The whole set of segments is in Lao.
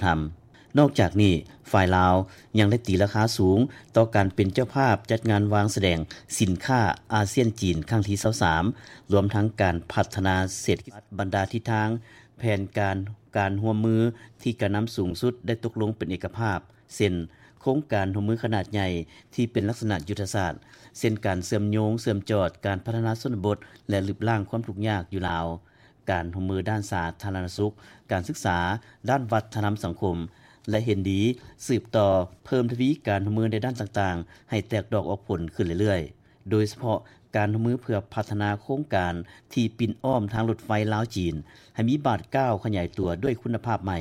ທຳ. ນອກຈາກນີ້, ຝ່າຍລາວຍັງໄດ້ຕີລາຄາສູງຕໍ່ການເປັນເຈົ້າພາບຈັດງານວາງສະແດງສິນຄ້າອາຊຽນ-ຈີນຄັ້ງທີຊາວສາມ ລວມທັງການພັດທະນາເສດຖະກິດບັນດາທິດທາງ, ແຜນການການຮ່ວມມືທີ່ການນຳສູງສຸດໄດ້ຕົກລົງເປັນເອກະພາບ ເຊັ່ນ ໂຄງການຮ່ວມມືຂະໜາດໃຫຍ່ທີ່ເປັນລັກສະນະຍຸດທະສາດ ເຊັ່ນ ການເຊື່ອມໂຍງເຊື່ອມຈອດການພັດທະນາຊົນນະບົດ ແລະ ລຶບລ້າງຄວາມທຸກຍາກຢູ່ລາວ, ການຮ່ວມມືດ້ານສາທາລະນະສຸກ, ການສຶກສາ, ດ້ານວັດທະນຳສັງຄົມ ແລະ ເຫັນດີສືບຕໍ່ເພີ່ມທະວີການຮ່ວມມືໃນດ້ານຕ່າງໆ ໃຫ້ແຕກດອກອອກຜົນຂຶ້ນເລື້ອຍໆ. ໂດຍສະເພາະການຮ່ວມມືເພື່ອພັດທະນາໂຄງການທີ່ປິ່ນອ້ອມທາງລົດໄຟລາວ-ຈີນ ໃຫ້ມີບາດກ້າວຂະຫຍາຍຕົວດ້ວຍຄຸນນະພາບໃໝ່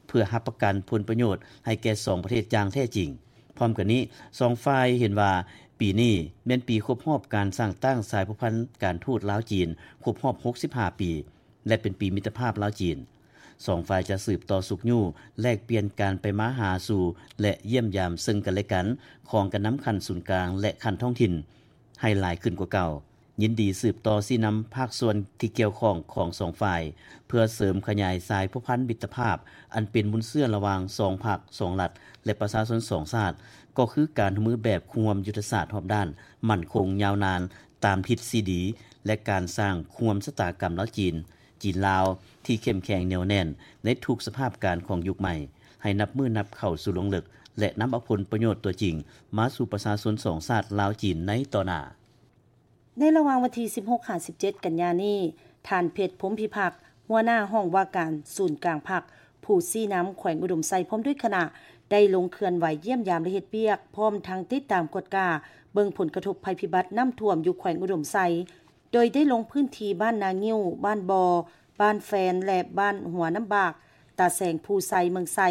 ເພື່ອຮັບປະກັນຜົນປະໂຫຍດໃຫ້ແກ່ສອງປະເທດຢ່າງແທ້ຈິງ. ພ້ອມກັນນີ້, ສອງຝ່າຍເຫັນວ່າປີນີ້ແມ່ນປີຄົບຮອບການສ້າງຕັ້ງສາຍພົວພັນການທູດລາວ-ຈີນ ຄົບຮອບຫົກສິບຫ້າປີ ແລະ ເປັນປີມິດຕະພາບລາວ-ຈີນ. ສອງຝ່າຍຈະສືບຕໍ່ຊຸກຍູ້, ແລກປ່ຽນການໄປມາຫາສູ່ ແລະ ຢ້ຽມຢາມເຊິ່ງກັນແລະກັນຂອງການນຳຂັ້ນສູນກາງ ແລະ ຂັ້ນທ້ອງຖິ່ນ ໃຫ້ຫຼາຍຂຶ້ນກວ່າເກົ່າ, ຍິນດີສືບຕໍ່ຊີ້ນຳພາກສ່ວນທີ່ກ່ຽວຂ້ອງຂອງສອງຝ່າຍ ເພື່ອເສີມຂະຫຍາຍສາຍພົວພັນມິດຕະພາບ ອັນເປັນມູນເຊື້ອລະຫວ່າງສອງພັກ, ສອງລັດ ແລະ ປະຊາຊົນສອງຊາດ, ກໍຄືການຮ່ວມມືແບບຄູ່ຮ່ວມຍຸດທະສາດຮອບດ້ານ, ໝັ້ນຄົງ, ຍາວນານ, ຕາມທິດຊີດີ ແລະ ການສ້າງຄູ່ຮ່ວມຊະຕາກຳລາວ-ຈີນ, ຈີນ-ລາວ ທີ່ເຂັ້ມແຂງແໜ້ວແໜ້ນໃນທຸກສະພາບການຂອງຍຸກໃໝ່, ໃຫ້ນັບມື້ນັບເຂົ້າສູ່ລວງເລິກ ແລະ ນຳເອົາຜົນປະໂຫຍດຕົວຈິງມາສູ່ປະຊາຊົນສອງຊາດລາວ-ຈີນໃນຕໍ່ໜ້າ. ໃນລະຫວ່າງວັນທີສິບຫົກຫາສິບເຈັດກັນຍານີ້, ທ່ານ ເພັດ ພົມພິພັກ, ຫົວໜ້າຫ້ອງວ່າການສູນກາງພັກ, ຜູ້ຊີ້ນຳແຂວງອຸດົມໄຊ ພ້ອມດ້ວຍຄະນະ ໄດ້ລົງເຄື່ອນໄຫວຢ້ຽມຢາມ ແລະ ເຮັດວຽກ, ພ້ອມທັງຕິດຕາມກວດກາເບິ່ງຜົນກະທົບໄພພິບັດນ້ຳຖ້ວມຢູ່ແຂວງອຸດົມໄຊ, ໂດຍໄດ້ລົງພື້ນທີ່ບ້ານນາງິ້ວ, ບ້ານບໍ່, ບ້ານແຟນ ແລະ ບ້ານຫົວນ້ຳບາກ, ຕາແສງ, ພູໄຊ, ເມືອງໄຊ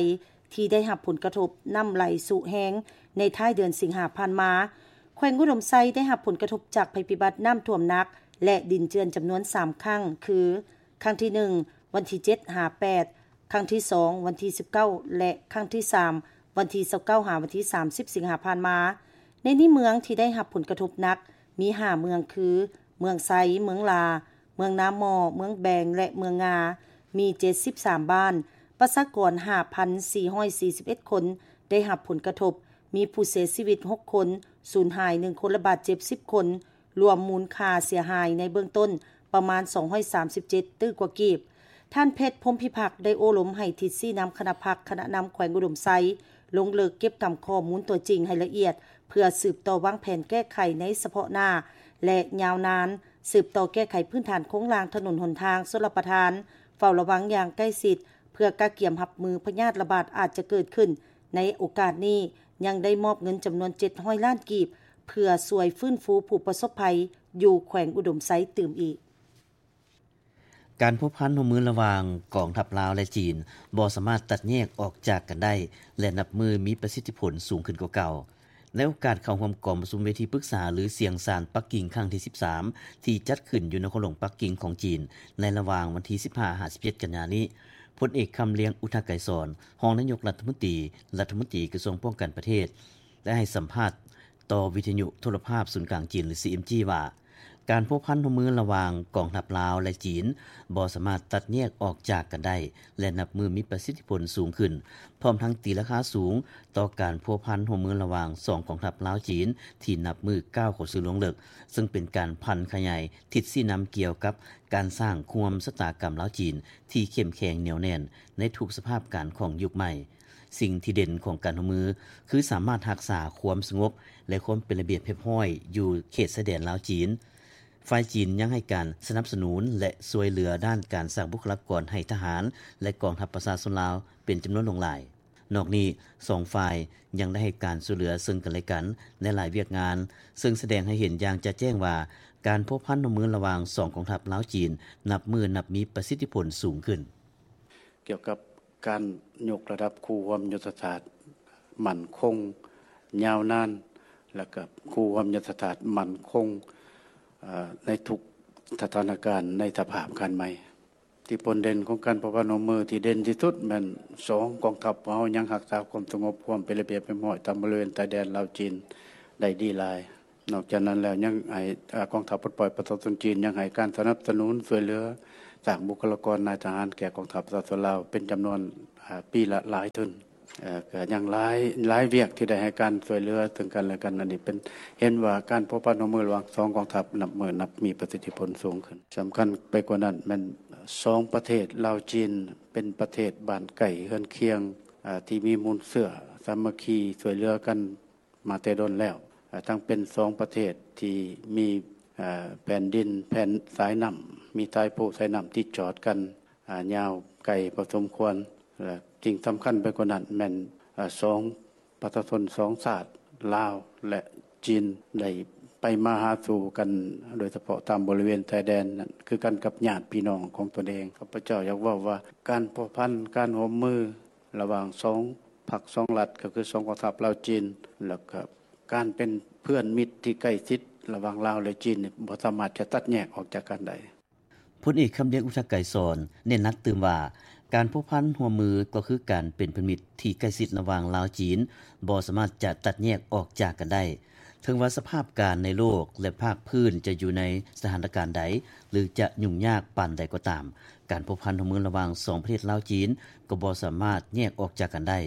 ທີ່ໄດ້ຮັບຜົນກະທົບນ້ຳໄຫຼຊຸແຮງໃນທ້າຍເດືອນສິງຫາຜ່ານມາ. ແຂວງອຸດົມໄຊໄດ້ຮັບຜົນກະທົບຈາກໄພພິບັດນ້ຳຖ້ວມໜັກ ແລະ ດິນເຈື່ອນຈຳນວນສາມຄັ້ງ ຄື ຄັ້ງທີໜຶ່ງ ວັນທີເຈັດຫາແປດ, ຄັ້ງທີສອງ ວັນທີສິບເກົ້າ ແລະ ຄັ້ງທີສາມ ວັນທີຊາວເກົ້າຫາວັນທີສາມສິບສິງຫາຜ່ານມາ. ໃນນີ້ເມືອງທີ່ໄດ້ຮັບຜົນກະທົບໜັກມີຫ້າເມືອງ ຄື ເມືອງໄຊ, ເມືອງຫຼາ, ເມືອງນາໝໍ້, ເມືອງແບງ ແລະ ເມືອງງາ, ມີເຈັດສິບສາມບ້ານ, ປະຊາກອນຫ້າພັນສີ່ຮ້ອຍສີ່ສິບເອັດຄົນໄດ້ຮັບຜົນກະທົບ, ມີຜູ້ເສຍຊີວິດຫົກຄົນ, ສູນຫາຍໜຶ່ງຄົນ ແລະ ບາດເຈັບສິບຄົນ, ລວມມູນຄ່າເສຍຫາຍໃນເບື້ອງຕົ້ນປະມານສອງຮ້ອຍສາມສິບເຈັດຕື້ກວ່າກີບ. ທ່ານ ເພັດ ພົມພິພັກ ໄດ້ໂອ້ລົມໃຫ້ທິດຊີ້ນຳຄະນະພັກ, ຄະນະນຳແຂວງອຸດົມໄຊ ລົງເລິກເກັບກຳຂໍ້ມູນຕົວຈິງໃຫ້ລະອຽດ ເພື່ອສືບຕໍ່ວາງແຜນແກ້ໄຂໃນສະເພາະໜ້າ ແລະ ຍາວນານ, ສືບຕໍ່ແກ້ໄຂພື້ນຖານໂຄງລ່າງຖະໜົນຫົນທາງ, ຊົນລະປະທານ, ເຝົ້າລະວັງຢ່າງໃກ້ຊິດ ເພື່ອກະກຽມຮັບມືພະຍາດລະບາດອາດຈະເກີດຂຶ້ນ. ໃນໂອກາດນີ້ ຍັງໄດ້ມອບເງິນຈຳນວນເຈັດຮ້ອຍລ້ານກີບ ເພື່ອຊ່ວຍຟື້ນຟູຜູ້ປະສົບໄພຢູ່ແຂວງອຸດົມໄຊຕື່ມອີກ. ການພົວພັນຮ່ວມມືລະຫວ່າງກອງທັບລາວ ແລະ ຈີນ ບໍ່ສາມາດຕັດແຍກອອກຈາກກັນໄດ້ ແລະ ນັບມື້ມີປະສິດທິຜົນສູງຂຶ້ນກວ່າເກົ່າ. ໃນໂອກາດເຂົ້າຮ່ວມກອງປະຊຸມເວທີປຶກສາ ຫຼື ສຽງສານປັກກິ່ງຄັ້ງທີສິບສາມ ທີ່ຈັດຂຶ້ນຢູ່ນະຄອນຫຼວງປັກກິ່ງຂອງຈີນ ໃນລະຫວ່າງວັນທີສິບຫ້າຫາສິບເຈັດກັນຍານີ້, ພົນເອກ ຄຳລຽງ ອຸທະໄກສອນ ຮອງນາຍົກລັດຖະມົນຕີ, ລັດຖະມົນຕີກະຊວງປ້ອງກັນປະເທດ ໄດ້ໃຫ້ສຳພາດຕໍ່ວິທະຍຸໂທລະພາບສູນກາງຈີນ ຫຼື ຊີເອັມຈີ ວ່າ ການພົວພັນຮ່ວມມືລະຫວ່າງກອງທັບລາວ ແລະ ຈີນ ບໍ່ສາມາດຕັດແຍກອອກຈາກກັນໄດ້ ແລະ ນັບມື້ມີປະສິດທິຜົນສູງຂຶ້ນ, ພ້ອມທັງຕີລາຄາສູງຕໍ່ການພົວພັນຮ່ວມມືລະຫວ່າງສອງກອງທັບລາວ-ຈີນ ທີ່ນັບມື້ກ້າວເຂົ້າສູ່ລວງເລິກ, ເຊິ່ງເປັນການຜັນຂະຫຍາຍທິດຊີ້ນຳກ່ຽວກັບການສ້າງຄູ່ຮ່ວມຊະຕາກຳລາວ-ຈີນ ທີ່ເຂັ້ມແຂງແໜ້ວແໜ້ນໃນທຸກສະພາບການຂອງຍຸກໃໝ່. ສິ່ງທີ່ເດັ່ນຂອງການຮ່ວມມື ຄືສາມາດຮັກສາຄວາມສະຫງົບ ແລະ ຄວາມເປັນລະບຽບຮຽບຮ້ອຍຢູ່ເຂດຊາຍແດນລາວ-ຈີນ. ຝ່າຍຈີນຍັງໃຫ້ການສະໜັບສະໜູນ ແລະ ຊ່ວຍເຫຼືອດ້ານການສ້າງບຸກຄະລາກອນໃຫ້ທະຫານ ແລະ ກອງທັບປະຊາຊົນລາວເປັນຈຳນວນຫຼວງຫຼາຍ. ນອກນີ້, ສອງຝ່າຍຍັງໄດ້ໃຫ້ການຊ່ວຍເຫຼືອເຊິ່ງກັນແລະກັນໃນຫຼາຍວຽກງານ, ເຊິ່ງສະແດງໃຫ້ເຫັນຢ່າງຈະແຈ້ງວ່າ ການພົວພັນຮ່ວມມືລະຫວ່າງສອງກອງທັບລາວ-ຈີນ ນັບມື້ນັບມີປະສິດທິຜົນສູງຂຶ້ນ. ກ່ຽວກັບການຍົກລະດັບຄູ່ຮ່ວມຍຸດທະສາດໝັ້ນຄົງຍາວນານ ແລະ ກະຄູ່ຮ່ວມຍຸດທະສາດໝັ້ນຄົງ ເອີ ໃນທຸກສະຖານະການໃນສະພາບການໃໝ່. ທີ່ພົ້ນເດັ່ນຂອງການພົວພັນຮ່ວມມືທີ່ເດັ່ນທີ່ສຸດແມ່ນສອງກອງທັບຂອງເຮົາຍັງຮັກສາຄວາມສະຫງົບ, ຄວາມເປັນລະບຽບຮຽບຮ້ອຍຕາມບໍລິເວນຊາຍແດນລາວ-ຈີນໄດ້ດີຫຼາຍ. ນອກຈາກນັ້ນແລ້ວຍັງໃຫ້ ອາ ກອງທັບປົດປ່ອຍປະຊາຊົນຈີນຍັງໃຫ້ການສະໜັບສະໜູນຊ່ວຍເຫຼືອສ້າງບຸກຄະລາກອນນາຍທະຫານແກ່ກອງທັບປະຊາຊົນລາວເປັນຈຳນວນ ອ່າ ປີລະຫຼາຍທຶນ. ເອີ ກໍຍັງຫຼາຍ ຫຼາຍວຽກທີ່ໄດ້ໃຫ້ການຊ່ວຍເຫຼືອເຊິ່ງກັນແລະກັນ. ອັນນີ້ເປັນ ເຫັນວ່າການພົວພັນຮ່ວມມືລະຫວ່າງສອງກອງທັບ ນັບມື້ນັບມີປະສິດທິຜົນສູງຂຶ້ນ. ສຳຄັນໄປກວ່ານັ້ນແມ່ນ ສອງປະເທດລາວ-ຈີນ ເປັນປະເທດບ້ານໃກ້ເຮືອນຄຽງ ອ່າ ທີ່ມີມູນເຊື້ອສາມັກຄີຊ່ວຍເຫຼືອກັນ ມາແຕ່ດົນແລ້ວ, ທັງເປັນສອງປະເທດທີ່ມີແຜ່ນດິນ ແຜ່ນສາຍນ້ຳ ມີສາຍພູສາຍນ້ຳທີ່ຈອດກັນຍາວໄກພໍສົມຄວນ ແລະ ສິ່ງສຳຄັນໄປກວ່ານັ້ນແມ່ນສອງປະຊາຊົນສອງຊາດ ລາວ ແລະ ຈີນ ໄດ້ໄປມາຫາສູ່ກັນ ໂດຍສະເພາະຕາມບໍລິເວນຊາຍແດນນັ້ນ ຄືກັນກັບຍາດພີ່ນ້ອງຂອງຕົນເອງ. ຂ້າພະເຈົ້າຢາກເວົ້າວ່າ ການພົວພັນ ການຮ່ວມມື ລະຫວ່າງສອງພັກສອງລັດ ກໍຄືສອງກອງທັບລາວ-ຈີນ ແລ້ວກໍການເປັນເພື່ອນມິດທີ່ໃກ້ຊິດລະຫວ່າງລາວ ແລະ ຈີນ ບໍ່ສາມາດຈະຕັດແຍກອອກຈາກກັນໄດ້. ພົນເອກ ຄຳລຽງ ອຸທະໄກສອນ ເນັ້ນໜັກຕື່ມວ່າ ການພົວພັນຮ່ວມມືກໍຄືການເປັນເພື່ອນມິດທີ່ໃກ້ຊິດລະຫວ່າງລາວ-ຈີນ ບໍ່ສາມາດຈະຕັດແຍກອອກຈາກກັນໄດ້. ເຖິງວ່າສະພາບການໃນໂລກ ແລະ ພາກພື້ນຈະຢູ່ໃນສະຖານະການໃດ ຫຼື ຈະຫຍຸ້ງຍາກປານໃດກໍຕາມ, ການພົວພັນຮ່ວມມືລະຫວ່າງສອງປະເທດລາວ-ຈີນ ກໍບໍ່ສາມາດແຍກອອກຈາກກັນໄດ້.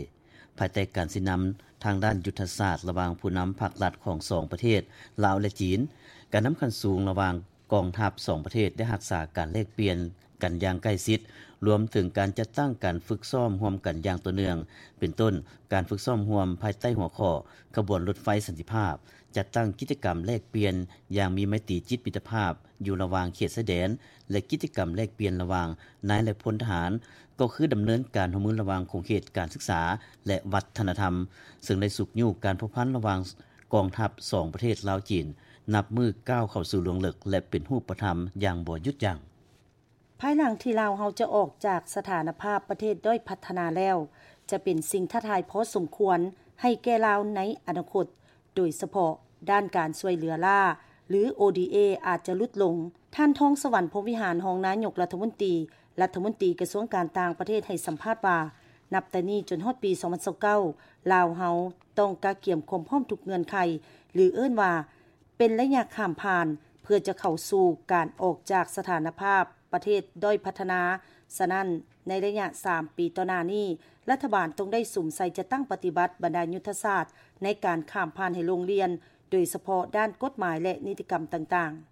ພາຍໃຕ້ການຊີ້ນຳທາງດ້ານຍຸດທະສາດລະຫວ່າງຜູ້ນຳພັກລັດຂອງສອງປະເທດ ລາວ ແລະ ຈີນ, ການນຳຂັ້ນສູງລະຫວ່າງກອງທັບສອງປະເທດໄດ້ຮັກສາການແລກປ່ຽນກັນຢ່າງໃກ້ຊິດ, ລວມເຖິງການຈັດຕັ້ງການຝຶກຊ້ອມຮ່ວມກັນຢ່າງຕໍ່ເນື່ອງ, ເປັນຕົ້ນ ການຝຶກຊ້ອມຮ່ວມພາຍໃຕ້ຫົວຂໍ້ ຂະບວນລົດໄຟສັນຕິພາບ, ຈັດຕັ້ງກິດຈະກຳແລກປ່ຽນຢ່າງມີໄມຕີຈິດມິດຕະພາບຢູ່ລະຫວ່າງເຂດຊາຍແດນ ແລະ ກິດຈະກຳແລກປ່ຽນລະຫວ່າງນາຍ ແລະ ພົນທະຫານ, ກໍຄືດຳເນີນການຮ່ວມມືລະຫວ່າງຂົງເຂດການສຶກສາ ແລະ ວັດທະນະທຳ, ເຊິ່ງໄດ້ຊຸກຍູ້ການພົວພັນລະຫວ່າງກອງທັບສອງປະເທດລາວ-ຈີນ ນັບມື້ກ້າວເຂົ້າສູ່ລວງເລິກ ແລະ ເປັນຮູບປະທຳຢ່າງບໍ່ຢຸດຢັ້ງ. ພາຍຫຼັງທີ່ລາວເຮົາຈະອອກຈາກສະຖານະພາບປະເທດດ້ອຍພັດທະນາແລ້ວ, ຈະເປັນສິ່ງທ້າທາຍພໍສົມຄວນໃຫ້ແກ່ລາວໃນອະນາຄົດ, ໂດຍສະເພາະດ້ານການຊ່ວຍເຫຼືອລ້າ ຫຼື ໂອດີເອ ອາດຈະຫຼຸດລົງ. ທ່ານ ທອງສະຫວັນ ພົມວິຫານ ຮອງນາຍົກລັດຖະມົນຕີ, ລັດຖະມົນຕີກະຊວງການຕ່າງປະເທດ ໃຫ້ສຳພາດວ່າ ນັບແຕ່ນີ້ຈົນຮອດປີສອງພັນຊາວເກົ້າ ລາວເຮົາຕ້ອງກະກຽມຄວາມພ້ອມທຸກເງື່ອນໄຂ ຫຼື ເອີ້ນວ່າ ເປັນໄລຍະຂ້າມຜ່ານ ເພື່ອຈະເຂົ້າສູ່ການອອກຈາກສະຖານະພາບປະເທດດ້ອຍພັດທະນາ. ສະນັ້ນ, ໃນໄລຍະສາມປີຕໍ່ໜ້ານີ້, ລັດຖະບານຕ້ອງໄດ້ສຸມໃສ່ຈັດຕັ້ງປະຕິບັດບັນດາຍຸດທະສາດໃນການຂ້າມຜ່ານໃຫ້ລົງລຽນ, ໂດຍສະເພາະດ້ານກົດໝາຍ ແລະ ນິຕິກຳຕ່າງໆ.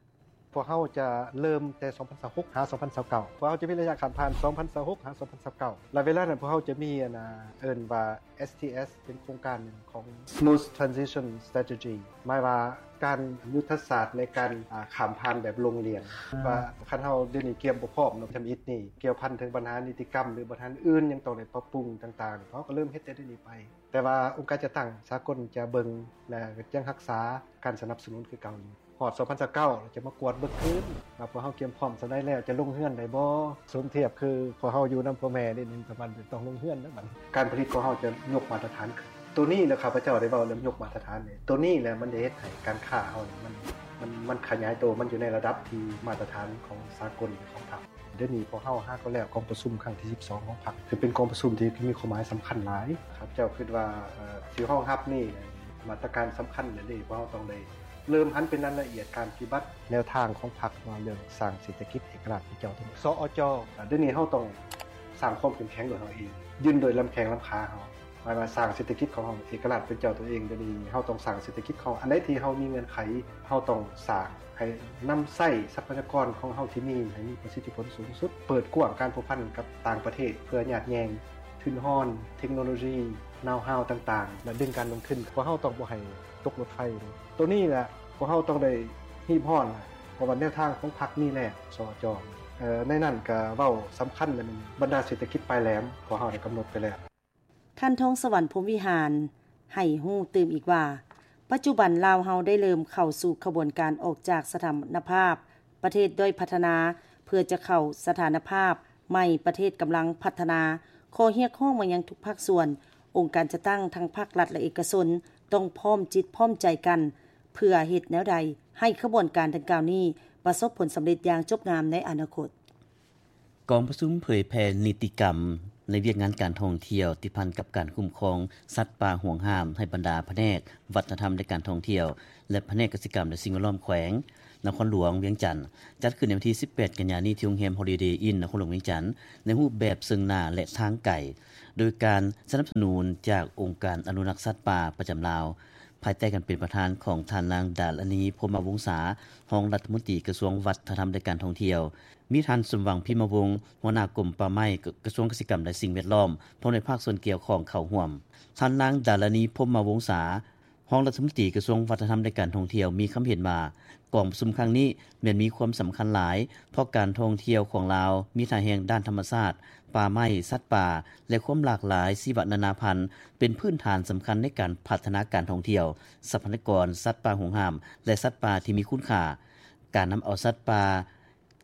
ພວກເຮົາຈະເລີ່ມແຕ່ສອງພັນຊາວຫົກຫາສອງພັນຊາວເກົ້າ. ພວກເຮົາຈະມີໄລຍະຂ້າມຜ່ານສອງພັນຊາວຫົກຫາສອງພັນຊາວເກົ້າ ແລະ ເວລານັ້ນພວກເຮົາຈະມີ ອັນນ່າ ເອີ້ນວ່າ ເອສທີເອສ ເປັນໂຄງການໜຶ່ງຂອງ Smooth Transition Strategy ໝາຍວ່າການ ຍຸດທະສາດໃນການ ອາ ຂ້າມຜ່ານແບບລົງລຽນ ວ່າຄັນເຮົາດຽວນີ້ກຽມບໍ່ພ້ອມເນາະ ທຳອິດນີ້ກ່ຽວພັນເຖິງບັນຫານິຕິກຳ ຫຼື ບັນຫາອື່ນຍັງຕ້ອງໄດ້ປັບປຸງຕ່າງໆ ເຮົາກໍເລີ່ມເຮັດແຕ່ດຽວນີ້ໄປ. ແຕ່ວ່າອົງການຈັດຕັ້ງສາກົນຈະເບິ່ງ ແລະ ຍັງຮັກສາການສະໜັບສະໜູນຄືເກົ່າຢູ່. ຮອດສອງພັນຊາວເກົ້າ ແລ້ວຈະມາກວດເບິ່ງຄືນວ່າພວກເຮົາກຽມພ້ອມສ່ຳໃດແລ້ວ ຈະລົງເຮືອນໄດ້ບໍ່? ສົມທຽບຄືພວກເຮົາຢູ່ນຳພໍ່ແມ່ນີ້ ປະມານຕ້ອງລົງເຮືອນນະບັດ. ການຜະລິດຂອງເຮົາຈະຍົກມາດຕະຖານຂຶ້ນ. ໂຕນີ້ແຫຼະ ຂ້າພະເຈົ້າໄດ້ເວົ້າເລື່ອງຍົກມາດຕະຖານນີ້. ໂຕນີ້ແຫຼະ ມັນຈະເຮັດໃຫ້ການຄ້າເຮົານີ້ ມັນ ມັນ ມັນຂະຫຍາຍໂຕ ມັນຢູ່ໃນລະດັບທີ່ມາດຕະຖານຂອງສາກົນ ຂອງທັບ. ດຽວນີ້ພວກເຮົາຫາກໍແລ້ວກອງປະຊຸມຄັ້ງທີສິບສອງຂອງພັກ ຄືເປັນກອງປະຊຸມທີ່ມີຄວາມໝາຍສຳຄັນຫຼາຍ. ຂ້າພະເຈົ້າຄິດວ່າ ເອີ ຊິຮອງຮັບນີ້ ມາດຕະການສຳຄັນເດ ພວກເຮົາຕ້ອງໄດ້ເລີ່ມຫັນເປັນລາຍລະອຽດການປະຕິບັດແນວທາງຂອງພັກ ວ່າເລື່ອງສ້າງເສດຖະກິດເອກະລາດເປັນເຈົ້າຕົວເອງ ສອອຈ. ດຽວນີ້ເຮົາຕ້ອງສ້າງຄວາມເຂັ້ມແຂງໂດຍເຮົາເອງ ຢືນໂດຍລຳແຂ້ງລຳຂາເຮົາ. ໝາຍວ່າສ້າງເສດຖະກິດຂອງເຮົາເອກະລາດເປັນເຈົ້າຕົວເອງ. ດຽວນີ້ເຮົາຕ້ອງສ້າງເສດຖະກິດຂອງເຮົາ. ອັນໃດທີ່ເຮົາມີເງື່ອນໄຂ ເຮົາຕ້ອງສ້າງໃຫ້ນຳໃຊ້ຊັບພະຍາກອນຂອງເຮົາທີ່ມີໃຫ້ມີປະສິດທິຜົນສູງສຸດ, ເປີດກວ້າງການພົວພັນກັບຕ່າງປະເທດ ເພື່ອຍາດແຍ່ງທຶນຮອນ, ເທັກໂນໂລຊີ, ນາວຮາວຕ່າງໆ ແລະ ດຶງການລົງທຶນ. ພວກເຮົາຕ້ອງບໍ່ໃຫ້ຕົກລົດໄຟ. ໂຕນີ້ແຫຼະ ພວກເຮົາຕ້ອງໄດ້ຮີບຮ້ອນ ເພາະວ່າແນວທາງຂອງພັກມີແລ້ວ ສອຈ. ໃນນັ້ນກະເວົ້າສຳຄັນແມ່ນບັນດາເສດຖະກິດປາຍແຫຼມ ພວກເຮົາໄດ້ກຳນົດໄປແລ້ວ. ທ່ານ ທອງສະຫວັນ ພົມວິຫານ ໃຫ້ຮູ້ຕື່ມອີກວ່າ ປັດຈຸບັນລາວເຮົາໄດ້ເລີ່ມເຂົ້າສູ່ຂະບວນການອອກຈາກສະຖານະພາບປະເທດດ້ອຍພັດທະນາ ເພື່ອຈະເຂົ້າສະຖານະພາບໃໝ່ປະເທດກຳລັງພັດທະນາ. ຂໍ້ຮຽກຮ້ອງມາຍັງທຸກພາກສ່ວນ, ອົງການຈັດຕັ້ງທັງພາກລັດ ແລະ ເອກະຊົນ ຕ້ອງພ້ອມຈິດພ້ອມໃຈກັນ ເພື່ອເຮັດແນວໃດໃຫ້ຂະບວນການດັ່ງກ່າວນີ້ປະສົບຜົນສຳເລັດຢ່າງຈົບງາມໃນອະນາຄົດ. ກອງປະຊຸມເຜີຍແຜ່ນິຕິກຳໃນວຽກງານການທ່ອງທ່ຽວ ຕິດພັນກັບການຄຸ້ມຄອງສັດປ່າຫວງຫ້າມ ໃຫ້ບັນດາພະແນກວັດທະນະທຳ ແລະ ການທ່ອງທ່ຽວ ແລະ ພະແນກກະສິກຳ ແລະ ສິ່ງແວດລ້ອມແຂວງນະຄອນຫຼວງວຽງຈັນ ຈັດຂຶ້ນໃນວັນທີສິບແປດ ກັນຍານີ້ ທີ່ໂຮງແຮມ Holiday Inn ນະຄອນຫຼວງວຽງຈັນ ໃນຮູບແບບເຊິ່ງໜ້າ ແລະ ທາງໄກ. ໂດຍການສະໜັບສະໜູນຈາກອົງການອະນຸລັກສັດປ່າປະຈຳລາວ ພາຍໃຕ້ການເປັນປະທານຂອງທ່ານນາງ ດາລານີ ພົມມະວົງສາ ຮອງລັດຖະມົນຕີກະຊວງວັດທະນະທຳ ແລະ ການທ່ອງທ່ຽວ, ມີທ່ານ ສົມຫວັງ ພິມມະວົງ ຫົວໜ້າກົມປ່າໄມ້ ກະຊວງກະສິກຳ ແລະ ສິ່ງແວດລ້ອມ ພ້ອມດ້ວຍພາກສ່ວນກ່ຽວຂ້ອງເຂົ້າຮ່ວມ. ທ່ານນາງ ດາລານີ ພົມມະວົງສາ ຮອງລັດຖະມົນຕີກະຊວງວັດທະນະທຳ ແລະ ການທ່ອງທ່ຽວ ມີຄຳເຫັນວ່າ ກອງປະຊຸມຄັ້ງນີ້ແມ່ນມີຄວາມສຳຄັນຫຼາຍ ເພາະການທ່ອງທ່ຽວຂອງລາວມີທ່າແຮງດ້ານທຳມະຊາດ, ປ່າໄມ້, ສັດປ່າ ແລະ ຄວາມຫຼາກຫຼາຍຊີວະນານາພັນ ເປັນພື້ນຖານສຳຄັນໃນການພັດທະນາການທ່ອງທ່ຽວ, ຊັບພະຍາກອນສັດປ່າຫວງຫ້າມ ແລະ ສັດປ່າທີ່ມີຄຸນຄ່າ. ການນຳເອົາສັດປ່າ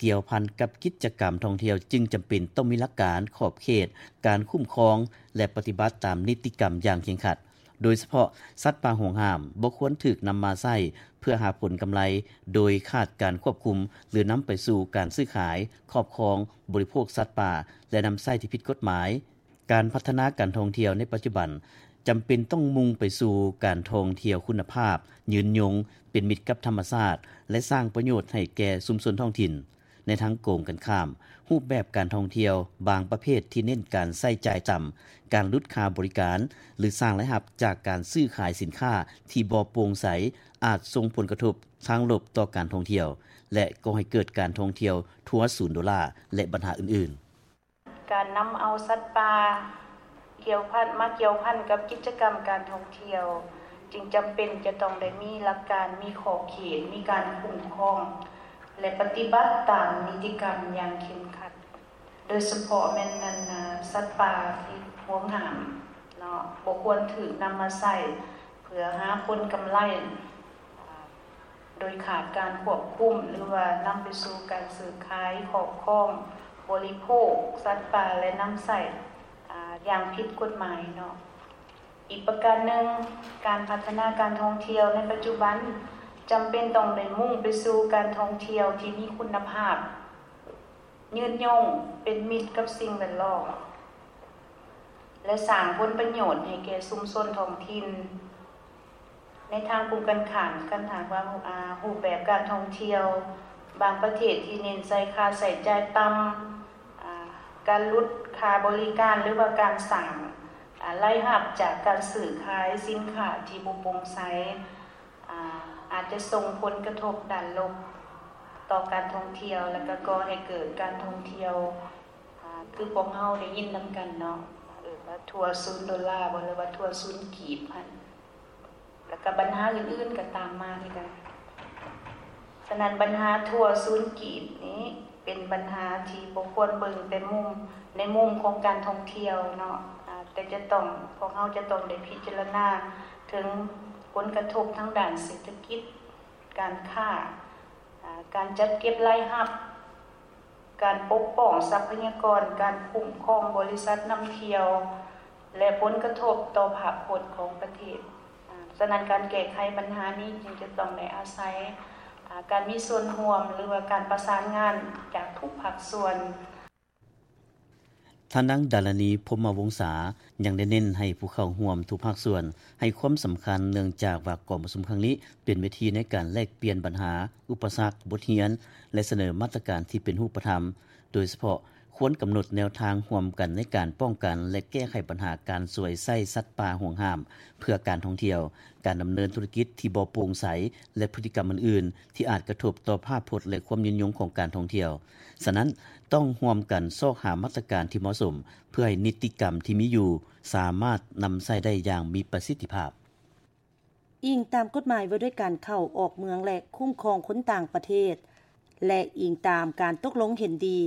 ກ່ຽວພັນກັບກິດຈະກຳທ່ອງທ່ຽວ ຈຶ່ງຈຳເປັນຕ້ອງມີຫຼັກການ, ຂອບເຂດ, ການຄຸ້ມຄອງ ແລະ ປະຕິບັດຕາມນິຕິກຳຢ່າງເຄັ່ງຄັດ. ໂດຍສະເພາະສັດປ່າຫວງຫ້າມບໍ່ຄວນຖືກນຳມາໃຊ້ເພື່ອຫາຜົນກຳໄລໂດຍຂາດການຄວບຄຸມ ຫຼື ນຳໄປສູ່ການຊື້ຂາຍ, ຄອບຄອງ, ບໍລິໂພກສັດປ່າ ແລະ ນຳໃຊ້ທີ່ຜິດກົດໝາຍ. ການພັດທະນາການທ່ອງທ່ຽວໃນປັດຈຸບັນ ຈຳເປັນຕ້ອງມຸ່ງໄປສູ່ການທ່ອງທ່ຽວຄຸນນະພາບ, ຍືນຍົງ, ເປັນມິດກັບທຳມະຊາດ ແລະ ສ້າງປະໂຫຍດໃຫ້ແກ່ຊຸມຊົນທ້ອງຖິ່ນ. ໃນທາງກົງກັນຂ້າມ, ຮູບແບບການທ່ອງທ່ຽວບາງປະເພດທີ່ເນັ້ນການໃຊ້ຈ່າຍຕ່ຳ, ການຫຼຸດຄ່າບໍລິການ ຫຼື ສ້າງລາຍຮັບຈາກການຊື້ຂາຍສິນຄ້າທີ່ບໍ່ໂປ່ງໃສ ອາດສົ່ງຜົນກະທົບທາງລົບຕໍ່ການທ່ອງທ່ຽວ ແລະ ກໍ່ໃຫ້ເກີດການທ່ອງທ່ຽວທົວສູນໂດລາ ແລະ ບັນຫາອື່ນໆ. ການນຳເອົາສັດປ່າກ່ຽວພັນ ມາກ່ຽວພັນກັບກິດຈະກຳການທ່ອງທ່ຽວ ຈຶ່ງຈຳເປັນຈະຕ້ອງໄດ້ມີຫຼັກການ, ມີຂອບເຂດ, ມີການຄຸ້ມຄອງ ແລະ ປະຕິບັດຕາມນິຕິກຳຢ່າງເຄັ່ງຄັດ, ໂດຍສະເພາະແມ່ນນັ້ນນະ ສັດປ່າທີ່ຫວງຫ້າມເນາະ ບໍ່ຄວນຖືກນຳມາໃຊ້ເພື່ອຫາຜົນກຳໄລ ໂດຍຂາດການຄວບຄຸມ ຫຼືວ່ານຳໄປສູ່ການຊື້ຂາຍ, ຄອບຄອງ, ບໍລິໂພກສັດປ່າ ແລະ ນຳໃຊ້ ອາ ຢ່າງຜິດກົດໝາຍເນາະ. ອີກປະການໜຶ່ງ, ການພັດທະນາການທ່ອງທ່ຽວໃນປັດຈຸບັນ ຈຳເປັນຕ້ອງໄດ້ມຸ່ງໄປສູ່ການທ່ອງທ່ຽວທີ່ມີຄຸນນະພາບ, ຍືນຍົງ, ເປັນມິດກັບສິ່ງແວດລ້ອມ ແລະ ສ້າງຜົນປະໂຫຍດໃຫ້ແກ່ຊຸມຊົນທ້ອງຖິ່ນ. ໃນທາງກົງກັນຂ້າມ, ຄັນຫາກວ່າ ອາ ຮູບແບບການທ່ອງທ່ຽວບາງປະເທດທີ່ເນັ້ນໃສ່ຄ່າໃຊ້ຈ່າຍຕ່ຳ, ອາ ການຫຼຸດຄ່າບໍລິການ ຫຼືວ່າການສ້າງ ອາ ລາຍຮັບຈາກການຊື້ຂາຍສິນຄ້າທີ່ບໍ່ໂປ່ງໃສ ອາ ອາດຈະສົ່ງຜົນກະທົບດ້ານລົບຕໍ່ການທ່ອງທ່ຽວ ແລ້ວກໍກໍ່ໃຫ້ເກີດການທ່ອງທ່ຽວ ອາ ຄືພວກເຮົາໄດ້ຍິນນຳກັນເນາະ ເອີ້ນວ່າທົວສູນໂດລາບໍ ຫຼືວ່າທົວສູນກີບຫັ້ນ ແລ້ວກໍບັນຫາອື່ນໆກໍຕາມມາຄືກັນ. ສະນັ້ນບັນຫາທົວສູນກີບນີ້ເປັນບັນຫາທີ່ບໍ່ຄວນເບິ່ງແຕ່ມຸມ ໃນມຸມຂອງການທ່ອງທ່ຽວເນາະ ອາ ແຕ່ຈະຕ້ອງ ພວກເຮົາຈະຕ້ອງໄດ້ພິຈາລະນາເຖິງຜົນກະທົບທາງດ້ານເສດຖະກິດ, ການຄ້າ, ອາ ການຈັດເກັບລາຍຮັບ, ການປົກປ້ອງຊັບພະຍາກອນ, ການຄຸ້ມຄອງບໍລິສັດນຳທ່ຽວ ແລະ ຜົນກະທົບຕໍ່ພາບພົດຂອງປະເທດ. ອາ ສະນັ້ນການແກ້ໄຂບັນຫານີ້ຈຶ່ງຈະຕ້ອງໄດ້ອາໄສ ອາ ການມີສ່ວນຮ່ວມ ຫຼືວ່າການປະສານງານຈາກທຸກພາກສ່ວນ. ທ່ານນາງ ດາລານີ ພົມມະວົງສາ ຍັງໄດ້ເນັ້ນໃຫ້ຜູ້ເຂົ້າຮ່ວມທຸກພາກສ່ວນໃຫ້ຄວາມສຳຄັນ ເນື່ອງຈາກວ່າກອງປະຊຸມຄັ້ງນີ້ເປັນເວທີໃນການແລກປ່ຽນບັນຫາ, ອຸປະສັກ, ບົດຮຽນ ແລະ ສະເໜີມາດຕະການທີ່ເປັນຮູບປະທຳ, ໂດຍສະເພາະຄວນກຳນົດແນວທາງຮ່ວມກັນໃນການປ້ອງກັນ ແລະ ແກ້ໄຂບັນຫາການສວຍໃຊ້ສັດປ່າຫວງຫ້າມເພື່ອການທ່ອງທ່ຽວ, ການດຳເນີນທຸລະກິດທີ່ບໍ່ໂປ່ງໃສ ແລະ ພຶດຕິກຳອື່ນໆ ທີ່ອາດກະທົບຕໍ່ພາບພົດ ແລະ ຄວາມຍືນຍົງຂອງການທ່ອງທ່ຽວ. ສະນັ້ນ, ຕ້ອງຮ່ວມກັນຊອກຫາມາດຕະການທີ່ເໝາະສົມ ເພື່ອໃຫ້ນິຕິກຳທີ່ມີຢູ່ສາມາດນຳໃຊ້ໄດ້ຢ່າງມີປະສິດທິພາບ. ອີງຕາມກົດໝາຍວ່າດ້ວຍການເຂົ້າອອກເມືອງ ແລະ ຄຸ້ມຄອງຄົນຕ່າງປະເທດ ແລະ ອີງຕາມການຕົກລົງເຫັນດີ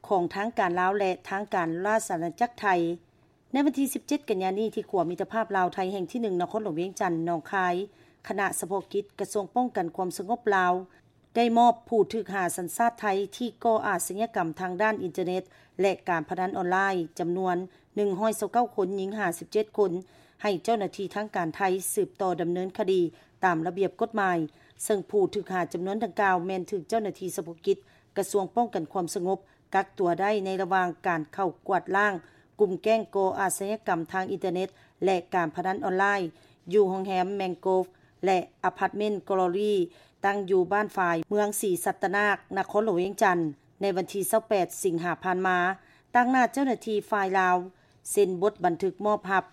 ຂອງທາງການລາວ ແລະ ທາງການລາຊະອານາຈັກໄທ, ໃນວັນທີສິບເຈັດ ກັນຍານີ້ ທີ່ຂົວມິດຕະພາບລາວ-ໄທແຫ່ງທີໜຶ່ງ ນະຄອນຫຼວງວຽງຈັນ, ໜອງຄາຍ, ຄະນະສະເພາະກິດກະຊວງປ້ອງກັນຄວາມສະຫງົບລາວ ໄດ້ມອບຜູ້ຖືກຫາສັນຊາດໄທທີ່ກໍ່ອາຊະຍາກຳທາງດ້ານອິນເຕີເນັດ ແລະ ການພະນັນອອນລາຍ ຈຳນວນໜຶ່ງຮ້ອຍຊາວເກົ້າຄົນ, ຍິງຫ້າສິບເຈັດຄົນ ໃຫ້ເຈົ້າໜ້າທີ່ທາງການໄທສືບຕໍ່ດຳເນີນຄະດີຕາມລະບຽບກົດໝາຍ, ເຊິ່ງຜູ້ຖືກຫາຈຳນວນດັ່ງກ່າວແມ່ນຖືກເຈົ້າໜ້າທີ່ສະເພາະກິດກະຊວງປ້ອງກັນຄວາມສະຫງົບ ກັກຕົວໄດ້ໃນລະຫວ່າງການເຂົ້າກວາດລ້າງກຸ່ມແກ້ງກໍ່ອາຊະຍາກຳທາງອິນເຕີເນັດ ແລະ ການພະນັນອອນລາຍ ຢູ່ໂຮງແຮມແມງໂກຟ ແລະ ອາພາດເມັນ ກອລຣີ ຕັ້ງຢູ່ບ້ານຝາຍ ເມືອງສີສັດຕະນາກ ນະຄອນຫຼວງວຽງຈັນ ໃນວັນທີຊາວແປດ ສິງຫາ ຜ່ານມາ. ຕາງໜ້າເຈົ້າໜ້າທີ່ຝ່າຍລາວ ເຊັນບົດບັນທຶກມອບຮັບ